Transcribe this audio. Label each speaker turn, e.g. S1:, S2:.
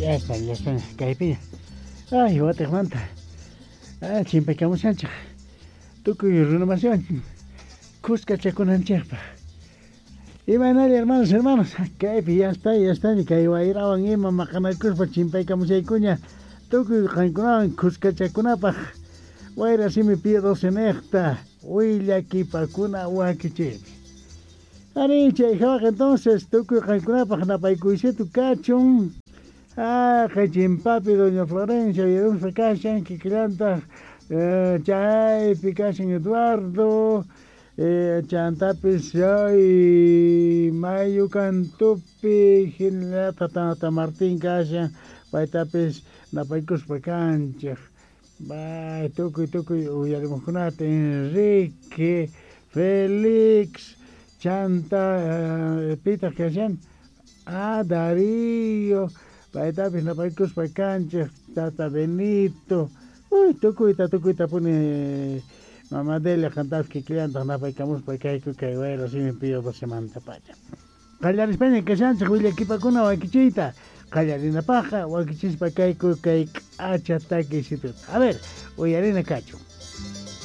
S1: Ya está, ya está, kaypiña. Ay, watiqmanta. Ah, chimpaykamushanchik. Tukuy runamasiwan kuskachakunanchikpaq. Imaynalla hermanos, hermanos, kaypi ya está, ya está, kay wayrawan ima maqanakuspa chimpaykamushaykuña tukuy qankunawan kuskachakunapaq. Wayra simi Pío 12 niqta willakipakuna wakichiypi. Ari, chay hawaq entonces tukuy qankunapaq napaykuysitu kachun. Ah, kay chimpapi doña Florencia uyarimuspa kashan kikillantaq chaypi kashan Eduardo chantapis chay mayu kantupi hinallataq tata Martín kashan paytapis napaykuspa kanchik. Bay, tukuy tukuy uyarimuqkunata Enrique, Félix, chanta pitaq kashan? Ah, Darío, paytapis napaykuspa kanchik, tata Benito, uy, tukuyta tukuyta puni mama Delia qantapis kikillantaq napaykamuspa kayku kay wayra simi Pío 12 pacha. Qallarispaña kashanchik willakipakuna wakichiyta. Qallarinapaqqa wakichispa kayku kay k'acha takiysituta. A ver, uyarina kachun.